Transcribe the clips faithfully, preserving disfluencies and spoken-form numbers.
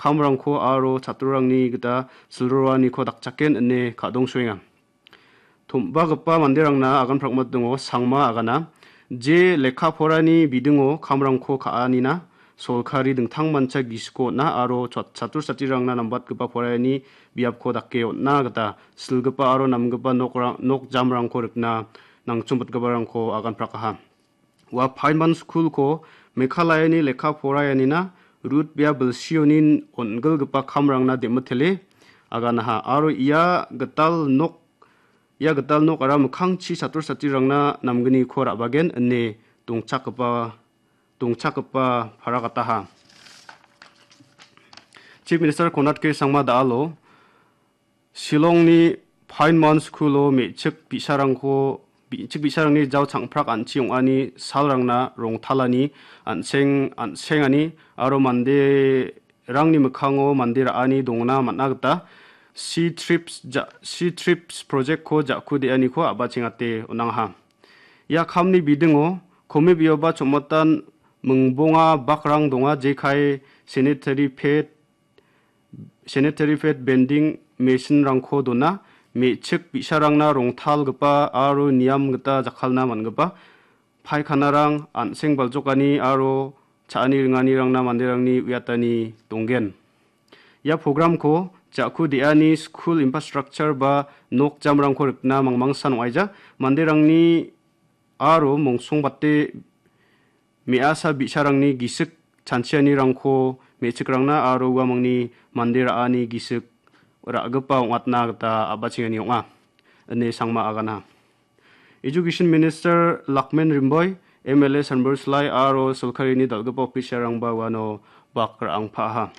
kamrangko aro chatrorangni gita silroaniko dakchaken ine kadongsoenga. Tom·bagipa manderangna agan prakmatingo sangma agana. Je lekka porani bidingo kamrangko ka·anina solkari dingtangmancha gisiko on·a aro chat-, chatro chatrirangna nambatgipa poraiani biapko dake on·na gita silgipa aro namgipa nokrang-, nok jamrangko rikna nangchombitgiparangko agan prakaha. Ua Pine Mon School-ko Meghalayani lekka poraianina rut bia bilsionin on·gilgipa kamrangna dem·mitele aganaha aro ia gital nok, ia gital nok ara mikkangchi chatro chatrirangna namgniko ra·bagen ine dongchakgipa, dongchakgipa paragataha. Chief Minister Conrad K Sangma da·alo Shillongni Pine Mon School-o me·chik bi·sarangko, me·chik bi·sarangni jao changprak an·chi ong·ani salrangna rongtalani an·seng, an·sengani aro manderangni mikkango mande ra·ani dongna man·a gita C-TRIPS ja-, C-TRIPS project-ko ja·ku de·aniko a·bachengate on·angaha. Ia kamni bidingo komibioba chomatan mingbonga bakrang donga, jekai sanitary pad, sanitary pad vending machine-rangko dona, me·chik bi·sarangna rongtalgipa aro niam gita jakkalna man·gipa paikhanarang, an·seng baljokani aro cha·ani ringanirangna manderangni uiatani donggen. Ia program-ko ja·ku de·ani skul infrastructure ba nok jamrangko rikna mangmangsan ong·aija. Manderangni aro mongsongbate me·asa bi·sarangni gisik chanchianirangko me·chikrangna aro uamangni mande ra·ani gisik ra·gipa ong·atna gita a·bachengani ong·a, ine Sangma agana. Education Minister Lakmen Rimboi, M L A Sanbor Slai aro sorkarini dal·gipa official-rangba uano bak ra·angpaha.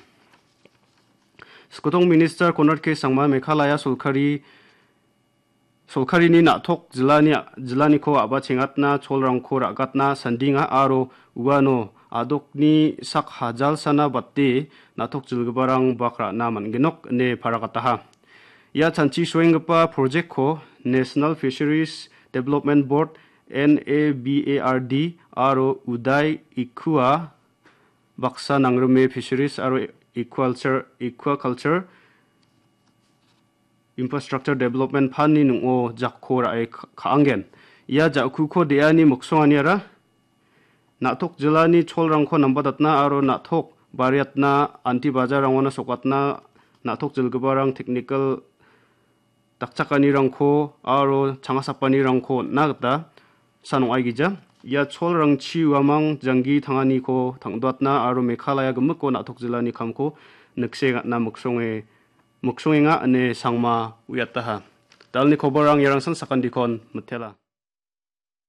Skotong Minister Conrad K Sangma Meghalaya sorkari Solkarini na·tok jilani, jilaniko a·bachengatna cholrangko ra·gatna sandinga aro uano adokni sak hajalsana bate na·tok jilgiparang bak ra·na man·genok ine paragataha. Ia chanchi soenggipa project-ko National Fisheries Development Board, N A B A R D, aro Uday Ikua baksa nangrime Fisheries aro Aquaculture, Aquaculture Infrastructure Development Fund-ni ning·o jakko ra·e ka-, ka·angen. Ia ja·kuko de·ani miksonganiara na·tok jilani cholrangko nambatatna aro na·tok bariatna, anti bajarrangona sokatna, na·tok jilgiparang technical dakchakanirangko aro changasapanirangko on·na gita san ong·aigija. Ia cholrangchi uamang janggi tanganiko tang·doatna aro Meghalaya gimiko na·tok jilani kamko niksengatna miksonge-, miksongenga ine Sangma uiataha. Dalni koborrang iarangsan sakandikon mitela.